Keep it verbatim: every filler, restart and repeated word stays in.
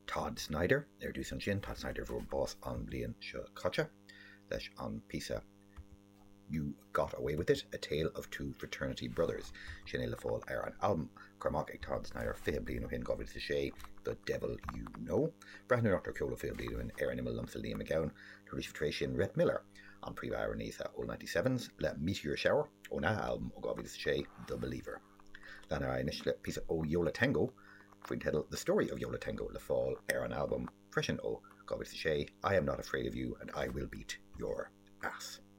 Todd Snider ar dtús ansin, Todd Snider a fuair bás an bhliain seo caite leis an píosa You Got Away With It, A Tale of Two Fraternity Brothers. Sin é le fáil ar an albam curtha amach ag Todd Snider fiche bliain ó shin dhá mhíle is a sé, The Devil You Know. Breathnú ar ceol ó fiche bliain ó shin ar an imeall liomsa Liam Mac Gabhann, tar éis sin Rhett Miller, an príomhamhránaí sa Old Ninety Sevens le Meteor Shower óna albam ó dhá mhíle is a sé, The Believer. Lean ar aghaidh anois le píosa ó Yo La Tengo faoin teideal The Story of Yo La Tengo le fáil ar an albam freisin ó dhá mhíle is a sé, I Am Not Afraid of You and I Will Beat Your Ass.